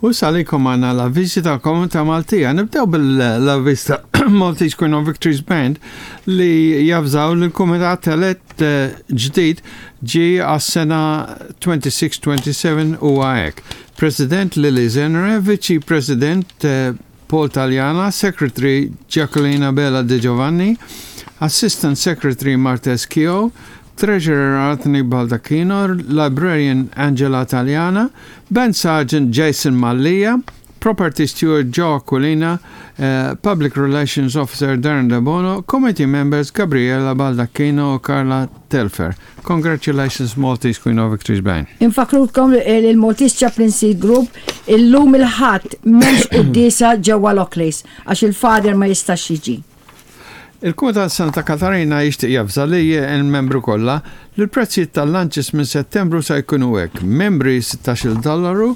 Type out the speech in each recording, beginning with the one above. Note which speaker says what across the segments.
Speaker 1: U issa għalikom għandna l-avviżi tal-Komunità Maltija. Nibdew bil-avviż ta' Maltese Queen of Victories Band li javżaw li l-Kumitat elett eh, ġdid ġie għas-sena 26-27 u hekk. President Lily Zenre, Viċi President eh, Paul Taliana, Secretary Jacqueline Abela De Giovanni, Assistant Secretary Martes Kio, Treasurer Anthony Baldacchino, Librarian Angela Taliana, Band Sergeant Jason Mallia, Property Steward Joe Aquilina, uh, Public Relations Officer Darren Debono, Committee Members Gabriela Baldacchino u Carla Telfer. Congratulations Maltese Queen of Victories Band.
Speaker 2: Infakrukom li il-Maltese Chaplaincy Group illum il-Ħadd m'hemmx quddiesa ġewwa Lockleys għax il-Father ma jistax jiġi.
Speaker 1: Il-Kumitat Santa Katarina jixtieq javża li l-membru kollha li l-prezzijiet tal-lunches minn Settembru se jkunu hekk, membri 16-il dollaru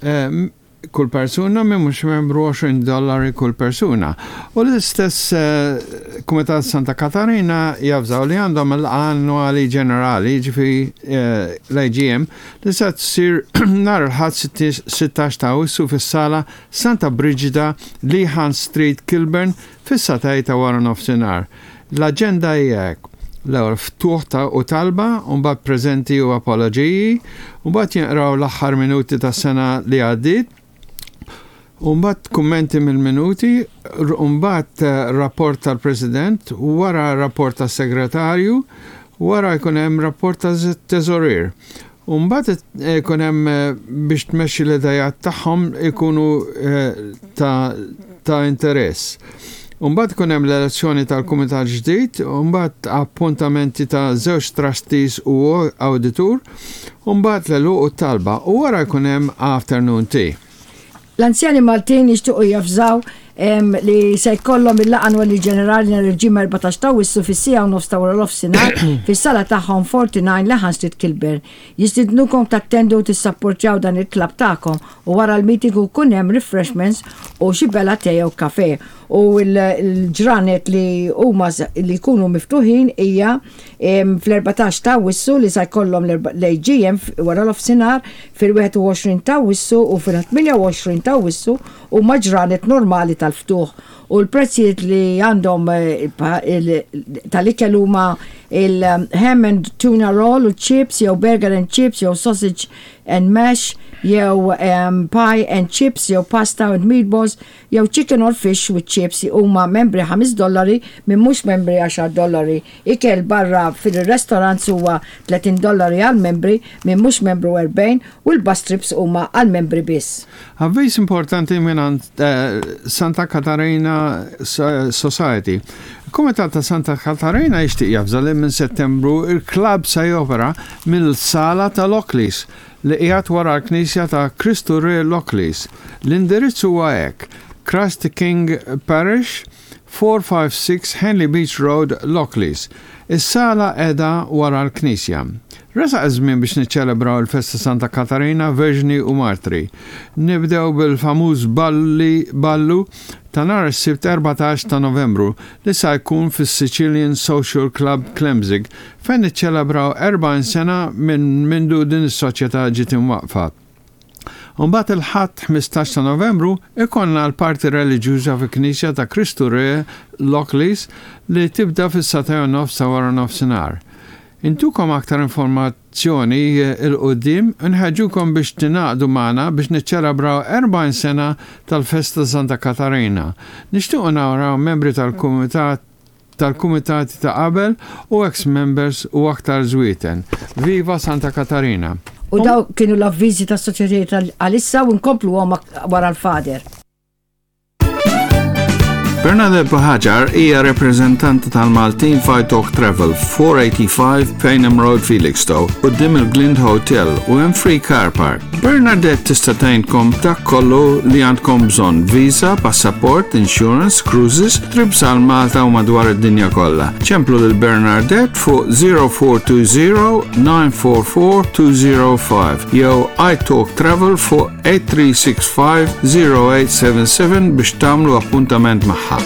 Speaker 1: eh, kull persuna, min mhux membru 20 dollari kull persuna. U l-istess eh, Kumitat Santa Katarina javżaw li għandhom il-laqgħa annwali ġenerali, ġifieri eh, l-AGM, li se tsir nhar il-Ħadd 16 ta' Awwissu fis-sala Santa Brigida, Lehan Street, Kilburn, Fis-sagħtej ta' wara nofsinhar. L-aġenda hija hekk, l-ewwel ftuħ ta' u talba, u mbagħad preżenti u apoloġiji, u mbagħad jinqraw l-aħħar minuti tas-sena li għaddiet, u mbagħad kummenti mill-minuti, u mbagħad rapport tal-President, wara rapport tas-Segretarju, wara jkun hemm rapport tat-Teżorier. U mbagħad ikun hemm biex tmexxi l-idejat tagħhom ikunu ta' ta' interess. U mbagħad ikun hemm l-elezzjoni tal-kumitat ġdid, u mbagħad appuntamenti ta' żewġ trustees u awditur, u mbagħad l-għeluq u t-talba, u wara jkun hemm afternoon tea.
Speaker 2: L-anzjani Maltin jixtiequ javżaw li se jkollhom il-laqgħa annwali ġenerali nhar il-Ġimgħa 14 ta' Awwissu fis-siegħa u nofs ta' wara nofsinhar fis-sala tagħhom 49 Lehan Street Kilburn. Jistidnukom tattendu u tissapportjaw dan il-klabb tagħkom u wara l-meeting ikun hemm refreshments u xi bela te jew kafè. U l-ġranet li huma li jkunu miftuħin hija fl-14 ta' Awwissu li sa jkollhom l-AGM wara nofsinhar, fil-21 ta' Awwissu u fil-28 ta' Awwissu huma ġranet normali tal-ftuħ u l-prezzijiet li għandhom tal-ikel huma il-ham and tuna roll u chips jew burger and chips jew sausage and mash jew pie and chips jew pasta and meatballs jew chicken or fish with chips huma membri ħames dollari, min mhux membri għaxar dollari. Ikel barra fil-restaurants huwa 30 dollari għall-membri, min mhux membru 40 u l-bus trips huma għall-membri biss.
Speaker 1: Avviż importanti mingħand Santa Katarina Society. Il-Kumitat ta' Santa Katarina jixtieq javża li minn Settembru il-klabb se jopera mill-sala ta' Lockleys li qiegħed wara l-Knisja ta' Kristu Re Lockleys. L-indirizz huwa hekk, Christ the King Parish, 456 Henley Beach Road, Lockleys. Is-sala qiegħda wara l-knisja. Resaq iż-żmien biex niċċelebraw il-festa Santa Katarina, Verġni u Martri. Nibdew bil-famuż balli ballu ta' nhar is-Sibt 14 ta' Novembru li sa jkun fis-Sicilian Social Club Klemzig fejn niċċelebraw 40 sena minn mindu din is-soċjetà ġiet imwaqqfa. U mbagħad il-Ħadd 15 ta' Novembru ikollna l-parti reliġjuża fil-Knisja ta' Kristu Re Lockleys li tibda fis-sagħtej u nofs ta' wara nofsinhar. Intukom aktar informazzjoni 'l quddiem u nħeġġukom biex tingħaqdu magħna biex niċċelebraw 40 sena tal-festa ta' Santa Katarina. Nixtiequ naraw membri tal-kumitat tal-kumitati ta' qabel u ex members u aktar żwieten. Viva Santa Katarina!
Speaker 2: U dawk kienu l-avviżi tas-soċjetajiet għalissa u nkompluhom wara l-Father.
Speaker 1: Bernadette Buhagiar hija rappreżentanta tal-Maltin f'Italk Travel, 485 Payneham Road, Felixstowe, quddiem il-Glind Hotel u hemm free car park. Bernadette tista' tgħinkom dak kollu li għandkom bżonn, visa, passaport, insurance, cruises, trips għal Malta u madwar id-dinja kollha. Ċemplu lil Bernadette fuq 0420 944 205 jew iTalk Travel fuq 8365 0877 biex tagħmlu appuntament magħha.